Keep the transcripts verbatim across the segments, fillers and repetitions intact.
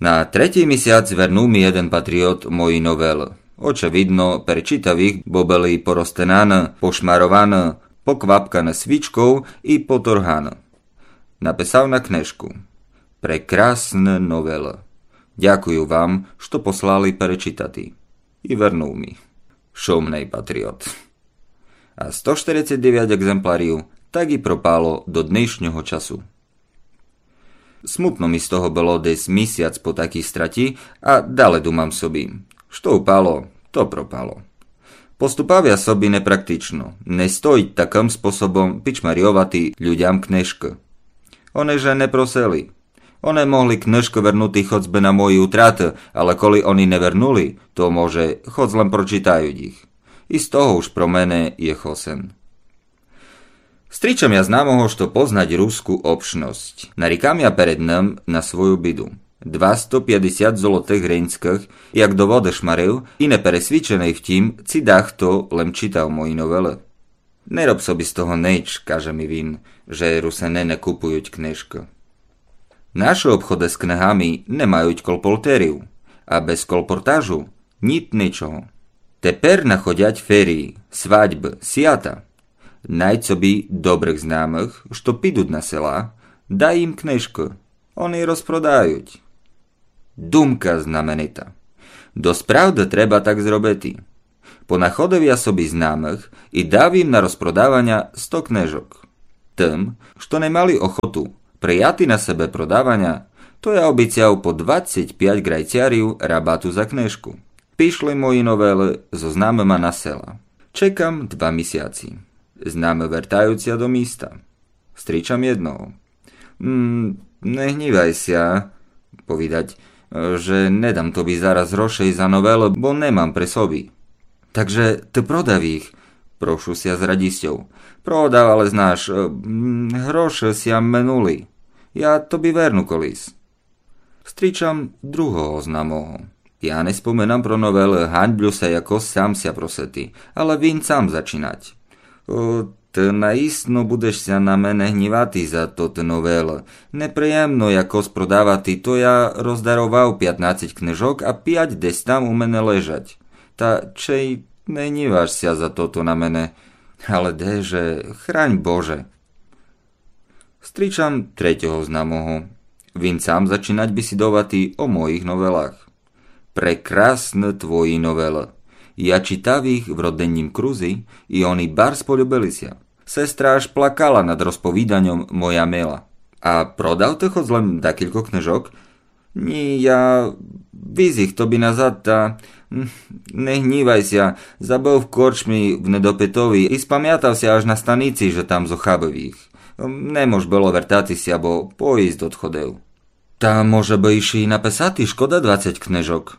На третій місяц вернул ми єден патріот мої новелы. Очевидно, перечитав їх, бо были порозтинаны, пошмарованы, поквапканы свічков и поторганы. Написав на книжку: Прекрасна новела. Дякую вам, што послали перечитати. И вернул ми. Шумный патріот. А сто штерицец девят екземплярів так и пропало до днешнього часу. Смутно ми з того было десь місяц по такій страті, а дале думам собі: што упало, то пропало. Поступав я собі непрактично. Не стоїть такым способом пічмарйовати людям книжкы. Они же не просили. Они могли книжкы вернути хоц бы на мої утраты, але коли они не вернули, то, може, хоц лем прочитають їх. И з того уж про мене є хосен. Стрічам я знамого, што познать руску общность. Нарікам я перед ним на свою біду. Двасто пятдесят золотых гринськых, як до воды шмарив, и непересвіченый в тім, ци дахто лем читав мої новелы. Не роб собі з того нич, каже ми він, же Русины не купують книжкы. Нашы обходы з книгами не мають колпортерів, а без колпортажу ніт ничого. Тепер находять ферії, свадьбы, сята. Найдь собі добрых знамых, што підуть на села, дай їм книжкы. Они розпродають. Думка знаменита. Досправды треба так зробити. Понаходив я собі знамых и дав їм на розпродаваня сто книжок. Тым, што не мали охоту прияти на себе продаваня, то я обіцяв по двадцять пять грайцярів рабату за книжку. Пішли мої новелы зо знамыма на села. Чекам два місяці. Знамы вертають ся до міста. Стрічам єдного. М, не гнівай ся, повідать, же не дам тобі зараз грошей за новелы, бо не мам при собі. Так же ты продав їх? Прошу ся з радістю. Продав, але знаш, е, м, гроши ся минули. Я тобі верну колись. Стрічам другого знамого. Я не споминам про новелы, ганьблю ся якось сам ся просити, але він сам зачинать. О, ты наісно будеш ся на мене гнівати за тоты новелы. Неприємно якось продавати, то я роздаровав пятнадцять книжок, а пять десь там у мене лежать. Та чей не гніваш ся за тото на мене? Але де же, хрань Боже. Стрічам третього знамого. Він сам зачинать бесідовати о моїх новелах. Прекрасны твої новелы. Я читав їх в родиннім крузі, и они барз полюбили ся. Сестра аж плакала над розповіданьом, моя мила. А продав ты хоц лем декілько книжок? Ні, я віз їх тобі назад, та, м, не гнівай ся, забыв в корчмі в недопитови и спамятав ся аж на станици, же там зохабив їх. М, не мож было вертати ся, бо поїзд одходив. Та може бы ище й написати, шкода двадцять книжок.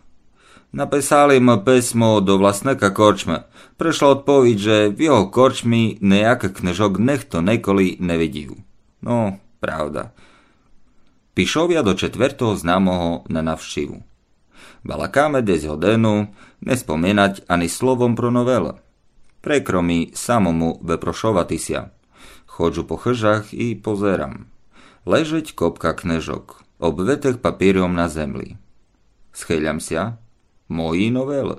Написали мы писмо до власника корчмы. Пришла одповідь, же в його корчмі ниякых книжок нихто николи не видів. Но, правда. Пішов я до четвертого знамого на навщиву. Балакаме десь годину, не споминать ани словом про новелы. Прикро ми самому выпрошовати ся. Ходжу по хыжах и позерам. Лежить копка книжок, обвитых папіром на землі. Схилям ся. Мої новелы.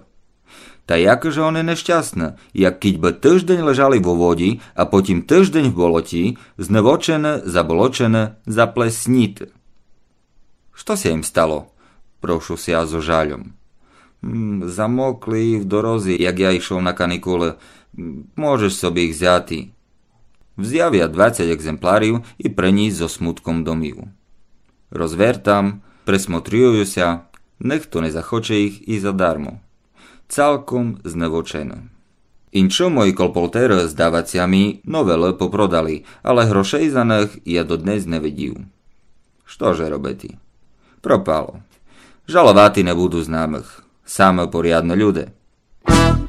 Та якы же они нещасны, як кідь бы тыждень лежали во воді, а потім тыждень в болоті, зневочены, заболочены, заплесніты. Што ся їм стало? Прошу ся зо жальом. М, замокли в дорозі, як я йшов на канікулы. М, можеш собі їх взяти. Взяв я двадцять екземплярів и приніс зо смутком домів. Розвертам, присмотрюю ся, нихто не захоче їх и задармо. Цалком зневочены. Иншо мої колпортеры, здавать ся ми, новелы попродали, але грошей за них я доднесь не видів. Што же робити? Пропало. Жаловати не буду знамых. Самы порядны люде.